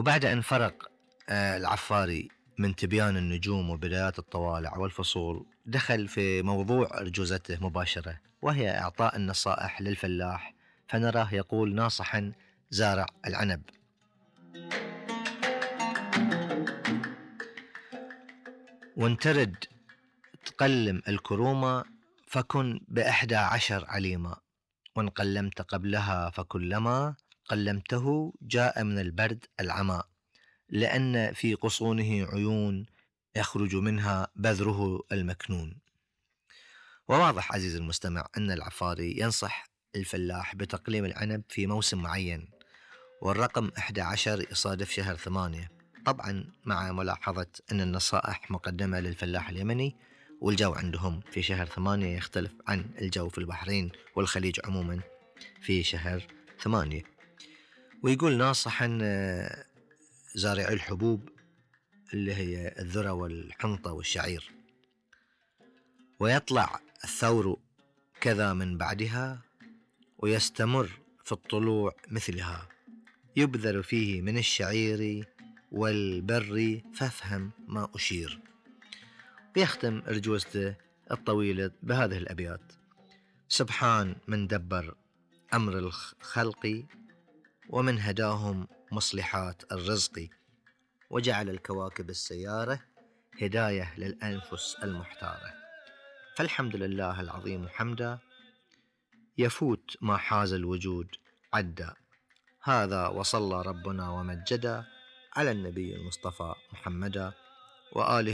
وبعد أن فرق العفاري من تبيان النجوم وبدايات الطوالع والفصول، دخل في موضوع أرجوزته مباشرة، وهي إعطاء النصائح للفلاح. فنراه يقول ناصحا زارع العنب: وان ترد تقلم الكرومة فكن ب11 عليما، وان قلمت قبلها فكلما قلمته جاء من البرد العمى، لأن في غصونه عيون يخرج منها بذره المكنون. وواضح عزيزي المستمع أن العفاري ينصح الفلاح بتقليم العنب في موسم معين، والرقم 11 يصادف شهر 8، طبعا مع ملاحظة أن النصائح مقدمة للفلاح اليمني، والجو عندهم في شهر 8 يختلف عن الجو في البحرين والخليج عموما في شهر 8. ويقول ناصحا زارع الحبوب اللي هي الذرة والحنطة والشعير: ويطلع الثور كذا من بعدها، ويستمر في الطلوع مثلها، يبذر فيه من الشعير والبر فافهم ما أشير. بيختم أرجوزته الطويلة بهذه الأبيات: سبحان من دبر أمر الخلق، ومن هداهم مصلحات الرزق، وجعل الكواكب السيارة هداية للأنفس المحتارة. فالحمد لله العظيم حمدا، يفوت ما حاز الوجود عدا. هذا وصلى ربنا ومجدا على النبي المصطفى محمدا وآله